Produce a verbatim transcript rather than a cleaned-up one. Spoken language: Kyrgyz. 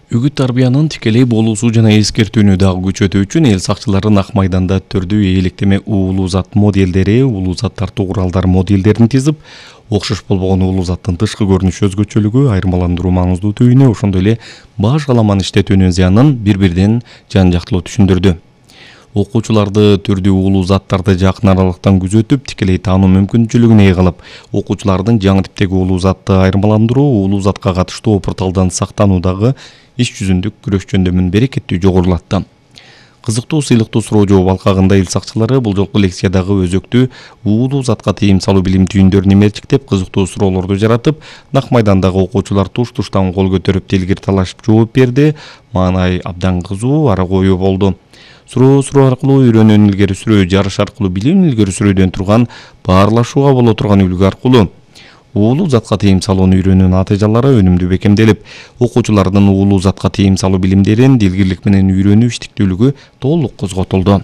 Үгүт тарбиянын тикелей болуусу жана эскертүүнү дагы күчөтүү үчүн эл сакчылары Ак майданда түрдүү ээликтеме уулуу зат моделдери, уулуу зат тартуу куралдары моделдерин тизип, окшош болбогон уулуу заттын тышкы көрүнүш өзгөчөлүгү, айырмаландыруу маңыздуулугуна, ошондой эле баш каламаны иштетүүнүн зыянын бири-биринен жан-жактылуу түшүндүрдү. Окуучуларды түрдүү уулуу заттарды жакын аралыктан күзөтүп, тикелей таануу мүмкүнчүлүгүн ээ кылып, окуучулардын жаңы типтеги уулуу затты айырмаландыруу, уулуу затка катыштуу порталдан сактануудагы иш жүзүндүк күрөш жөндөмүн берекеттүү жогорулатты. Кызыктуу сыйлыктуу суроо жооп алкагында эл сакчылары бул жолку лекциядагы өзөктүү уулуу затка тыйым салуу билим түйүндөрүн эмертиктеп, кызыктуу суроолорду жаратып, Ак майдандагы окуучулар туш-туштан кол көтөрүп, делгир талашып жооп берди. Маанай абдан кызуу, ара коюу болду. Суроо суроо аркылуу үйрөнүүнү илгери сүрүү, жарыш аркылуу билимин илгери сүрүүдөн турган, баарлашууга боло турган үлгү аркылуу уулуу затка тыйым салууну үйрөнүүнүн натыйжалары өнүмдүү бекемделип, окуучулардын уулуу затка тыйым салуу билимдерин дилгирлик менен үйрөнүү иштиктүүлүгү толук козготулду.